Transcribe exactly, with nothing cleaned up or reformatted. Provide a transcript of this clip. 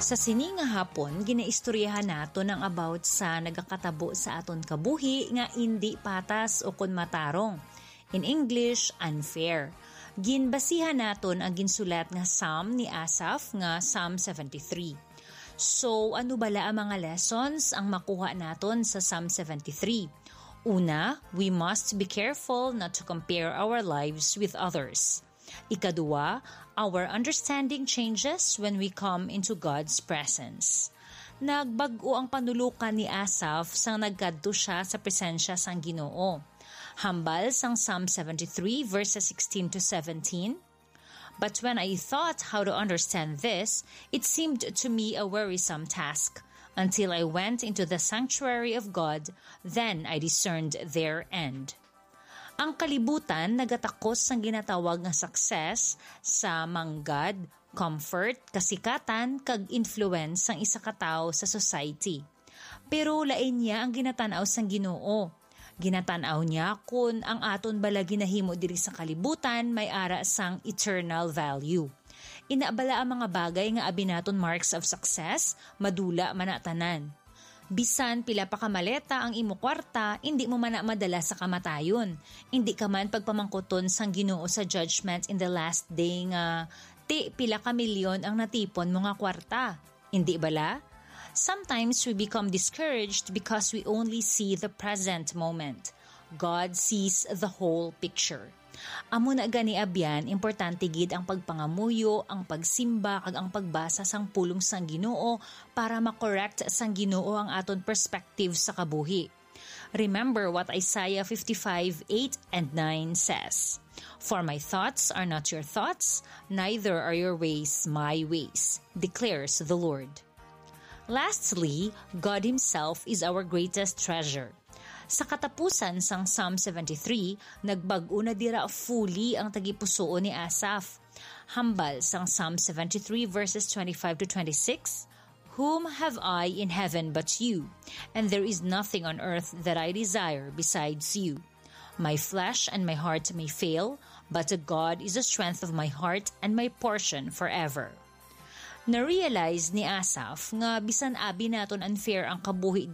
Sa sini nga hapon, ginaistoryahan naton ang about sa nagakatabo sa aton kabuhi nga indi patas o kon matarong. In English, unfair. Ginbasihan naton ang ginsulat nga Psalm ni Asaph nga Psalm seventy-three. So, ano bala ang mga lessons ang makuha naton sa Psalm seventy-three? Una, we must be careful not to compare our lives with others. Ikaduha, our understanding changes when we come into God's presence. Nagbag-o ang panulukan ni Asaph sang nagkadto siya sa presensya sang Ginoo. Hambal sang Psalm seventy-three, verses sixteen to seventeen, "But when I thought how to understand this, it seemed to me a wearisome task. Until I went into the sanctuary of God, then I discerned their end." Ang kalibutan nagatakos sang ginatawag nga success sa manggad, comfort, kasikatan, kag influence sang isa ka tawo sa society. Pero lain niya ang ginatan-aw sang Ginoo. Ginatan-aw niya kon ang aton bala ginahimo diri sa kalibutan may ara sang eternal value. Ina bala ang mga bagay nga abi naton marks of success, madula man na tanan. Bisan pila pa ka maleta ang imo kwarta, indi mo man na madala sa kamatayon. Indi ka man pagpamangkuton sang Ginoo sa judgment in the last day nga, "Ti, pila ka milyon ang natipon mo nga kwarta?" Indi bala? Sometimes we become discouraged because we only see the present moment. God sees the whole picture. Amo na gani, abyan, importante gid ang pagpangamuyo, ang pagsimba, kag ang pagbasa sang pulong sang Ginoo para ma-correct sang Ginoo ang aton perspective sa kabuhi. Remember what Isaiah fifty-five eight and nine says, "For my thoughts are not your thoughts, neither are your ways my ways, declares the Lord." Lastly, God Himself is our greatest treasure. Sa katapusan sang Psalm seventy-three, nagbag-o na dira fully ang tagipusuon ni Asaph. Hambal sang Psalm seventy-three, verses twenty-five to twenty-six, "Whom have I in heaven but you? And there is nothing on earth that I desire besides you. My flesh and my heart may fail, but God is the strength of my heart and my portion forever." Na-realize ni Asaph nga bisan abi naton unfair ang kabuhi diri